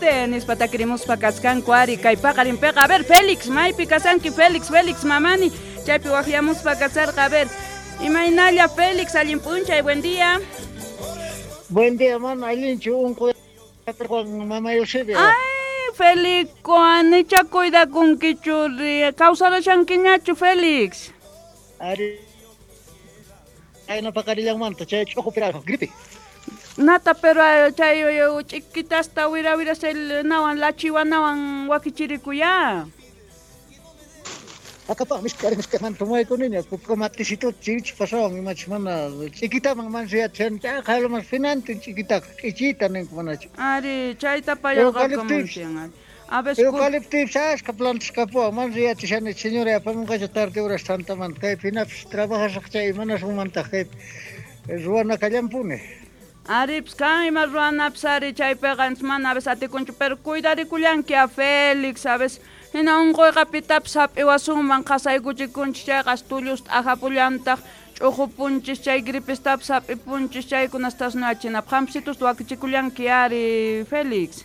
Fuerte nispa takirimuspa kaskanku ari kay paqarinpiqa. A ver, Félix, maypi kasanki Félix, Félix Mamani, chaypi waqyamuspa kasarqa. A ver, imaynalla Félix, allin p'unchay, buen día. Buen día, mana allinchu unquy mama Eusebia. Ay, Félix, anicha cuidakunkichu, kawsarashankiñachu Félix. Ari, ayna paqarillanmanta chay ch'uqu piraq gripe. Nata, pero chay ch'ikitasta wira wira nawan lachiwanawan wakichirikuya. Akapaq misk'ari misk'aman tomaykuniña kukamatisitu chirich pasawan imachus mana ch'ikitaman mansuyachan chayqa finantin ch'ikitaqa k'ichita ninku manachu. Ari, chayta payarqakamuntian. A ver, eucaliptus ashka plantas kapuwan mansuyachishani señora apamunqacha tarde horas tantamanta kaypi hinapis trabajasaq chay imanasqanmantaq kaypi ruwana kallanpuni. Ari, pues kan ima ruwanapis ari chaypiqa mana a veces atikunchu, pero cuidarikullanki a Félix, a veces hina unquyqa pitapis hap'iwasunman qasaykuchikunchis chayqa tullusta ajapullantaq ch'uqupunchis chay gripistapis hap'ipunchis chaykunastas nuyachinapaq hampisitus wakichikullanki ari Félix.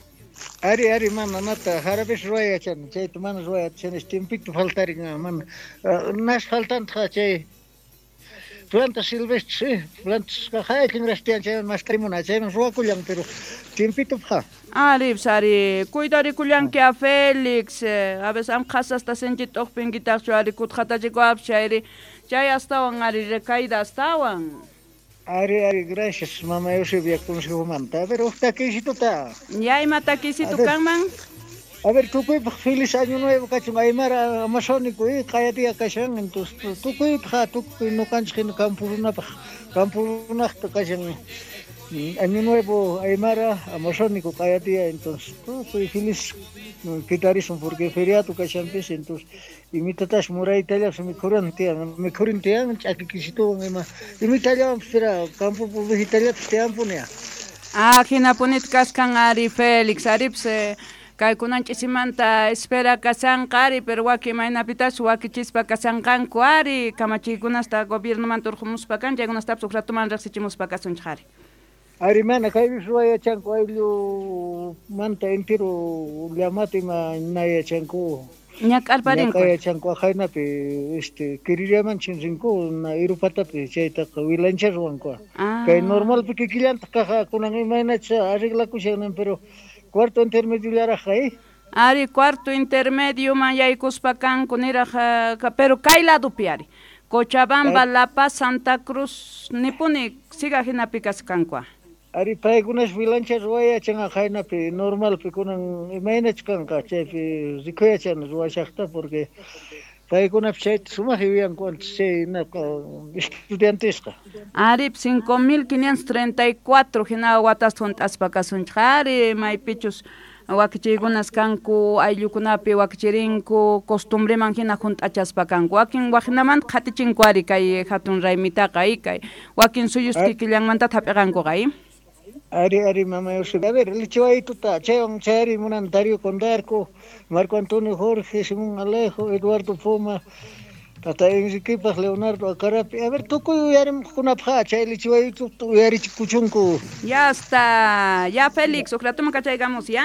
Ari, ari, mana, nata, jarabes ruway yachani, chayta mana ruway yachani, tiempito faltarin, mana, nas faltantaq chay plantas silvestres, sí, plantas jaykin rastian chayman mask'arimuna, chayman ruwakullan, pero tiempito pja. Ari, pues, ari, cuidarikullanki a Félix, a veces am qhasasta sinchita t'uqpinkitaqchu ari kutqatachikuapis chayri, chay astawan ari recaída astawan. Ari, ari, gracias, mama Eusebia, consejomanta. A ver, uj takisituta. Ya, ima takisitu kanman? A ver, tukuypaq feliz año nuevo kachun, aymara amazónico, qaya día kashan, entonces, tukuypaq, tukuy nuqanchik hina campo runapaq, campo runaqta kashan, año nuevo aymara amazónico qaya día, entonces, tukuy feliz kitarisun porque feriado kashanpis, entonces, imitatash muraytallapas mikhuran tiyan, mikhurin tiyan, ch'aki kisituwan ima, imitallawanpis pero campo ovejitallapas tiyanpuni. Ah, hinapunita kaskan ari Félix, aripis kaykunan ch'isimanta espera kashanqa ari, pero wakin imaynapitas wakichispa kashanqanku ari, kamachiykunasta gobiernomanta urqumuspa kan, chaykunastapis uj ratuman riqsichimuspa kasunchik ari. Ari, mana kaypis ruway yachanku ayllumanta entero llamata ima na yachanku. Ñak'arparinku. Ñak'ay yachanku ajaynapi, kiririaman rinku, na irupatapi chaytaqa wilancha ruwanku. Ah. Kay normalpi kikillantaq kaja kunan imaynacha arreglakushan, pero cuarto intermedio llarajqa, eh? Ari, cuarto intermedio man yaykuspa kanku niraj, pero kay ladopi ari. Cochabamba, La Paz, Santa Cruz, nipuni siga hinapi kaskanku. Ari, paykunas wilancha ruway yachan ajaynapi, normalpi kunan imaynach kanqa, chaypi rikuyachan ruwashaqta, porque paykunapi chayta sumaq yuyanku antes chay naqa estudiantesqa. Ari, 5534 hina watasta hunt'aspa kasunchik ari, maypichus wakichiykunas kanku, ayllukunapi wakichirinku, costumbreman hina hunt'achaspa kanku. Wakin waqinamanta qhatichinku ari kay hatun raymitaqa, kay wakin suyus kikillanmanta hap'iqankuqa, Ari, ari, mama Eusebia. A ver, lichiwaytuta, chaywan chayari munan Darío Condarco, Marco Antonio Jorge, Simón Alejo, Eduardo Poma, Tata Enriquepaj, Leonardo Acarapi. A ver, tukuy uyarimqkunapaq, chay lichiwaytuta uyarichikuchunku. Ya está, ya Félix, uj ratuman kachaykamos, ya?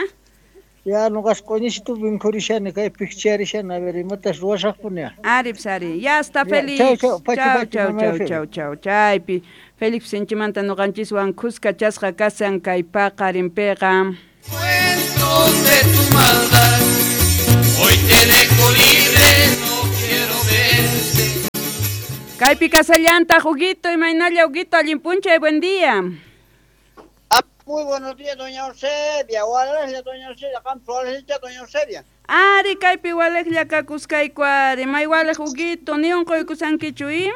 Ya, nuqas q'uñisitu vinkurishani, kay pikcharishani, a ver, imatas ruwasaqpuni. Ari, pues, ari, ya está, Ya, Félix. chau, chau, pachi, Chau, pachi, chau, mama chau, Eusebia. chau, chau, chaypi. Félix sinchimanta nuqanchiswan khuska chasqa kasan kay paqarinpiqa. Cuentos de tu maldad, hoy te dejo libre, no quiero verte. Kaypi kasallantaq, Huguito, imaynalla, Huguito, allin p'unchay, buen día. Ah, muy buenos días, doña Eusebia. Walejlla, doña Eusebia, qampas walejlla, doña Eusebia. Ari, kaypi walejlla kakuskayku ari, may walej, Huguito, ni unquykusankichu, i?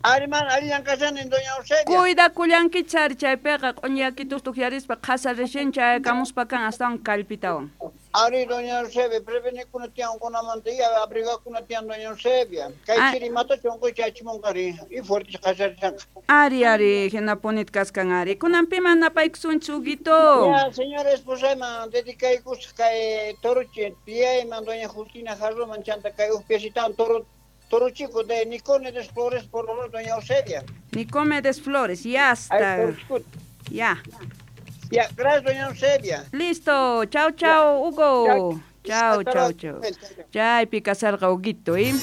Ari, man, alillan kashani, doña Eusebia. Cuidakullankichis ari chaypiqa, q'uñiyakitus tukyarispa qhasa recién chayakamuspa kan astawan kallpitawan. Ari, doña Eusebia, prevenikuna tiyan kunamanta, y abrigakuna tiyan, doña Eusebia. Kay Ah. chiri matachu unquy chachimunqa ari, y fuerte qhasarishanqa. Ari, ari, hinapunit kaskan ari. Kunan piman napaykusunchis, Huguito? Ya, señora esposayman dedicaykusaq kay torochi tiyayman, doña Justina Jarroman, chanta kay uj piecitawan toro, toro chico de Nicomedes Flores, por favor, doña Eusebia. Nicomedes Flores, ya Ay, está. toro chico. Ya. Ya, gracias, doña Eusebia. Listo, chao, chao, Hugo. Chao, chao, chao. Chaypi kasarqa Huguito, ¿eh?